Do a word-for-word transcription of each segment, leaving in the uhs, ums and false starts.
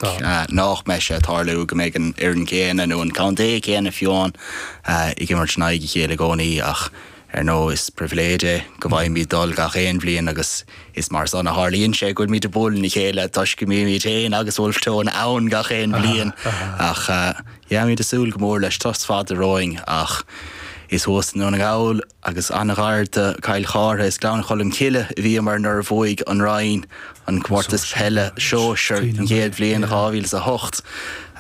Nach mbeidh sé ag tarlú go mbeidh an fhoireann céanna nó an contae céanna fiú amháin ag imirt in aghaidh a chéile i gcónaí ach ar ndóigh is pribhléid é go bhfaighimid dul gach aon bhliain agus is mar san a tharlaíonn sé go bhfuilimid ag bualadh le chéile toisc go mbímid féin agus Wolfe Tone ann gach aon bhliain ach yeah táimid ag súil go mór leis turas fada romhainn ach is thuas i nDún na nGall agus an-ghar do Chill Chartha is Gleann Cholm Cille a bhíomar nuair a bhuaigh an Rinn an comórtas peile sóisir an chéad bhliain dhá mhíle is a hocht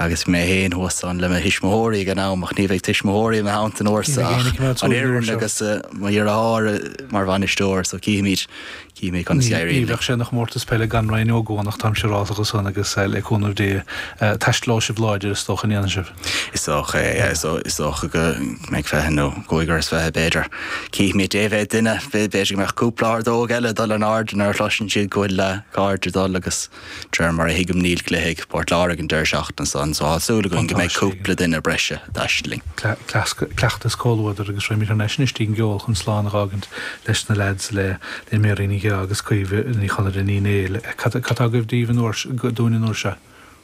agus mé féin thuas ann le mo thuismitheoirí ag an am ach ní bheidh tuismitheoirí i mo theannta an uair seo ach an fhoireann agus mo dheartháir mar bhainisteoir so cífimid cífimid conas a éiríonn. Ní bheadh sé ina chomórtas peile gan Rinn Ó gCuanach táim siúrálta de san agus le cúnamh Dé taistealóidh sibh láidir is dócha an ndéanfaidh sibh. Is dócha é, is dócha go mbeidh fiche nó cúigear is fiche b'fhéidir. Cífimid dé mhéad duine, b'fhéidir go mbeadh cúpla ordóg eile ag dul in airde nuair a chloiseann siad go bhfuil cairde ag dul agus de réir mar a thuigim níl cluiche ag Port Láirge an deireadh seachtaine san so tá súil againn go mbeidh cúpla duine breise ag taisteal linn. Cleachtas comhluadair agus raghaimid thar n-ais anois dtí'n gceol chun slán a dh'fhágaint leis na leaids le le Mary Ní Gheá agus Caoimhe Ní Chonaire Ní Néill. Cad tá agaibh daoibh an uair dúinn an uair seo?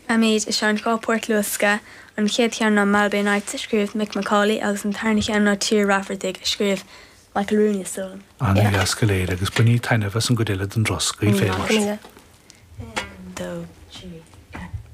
Táimid ag seinnt dhá port luasctha, an chéad cheann ná Malbay Nights a scríobh Mick McCauley agus an tarna cheann ná Tír Raifeartaigh a scríobh Michael Rooney is dóigh liom. An-dheas go léir agus bainí taitneamh as an gcuid eile den dturas, guí féin. Aon, dó, trí.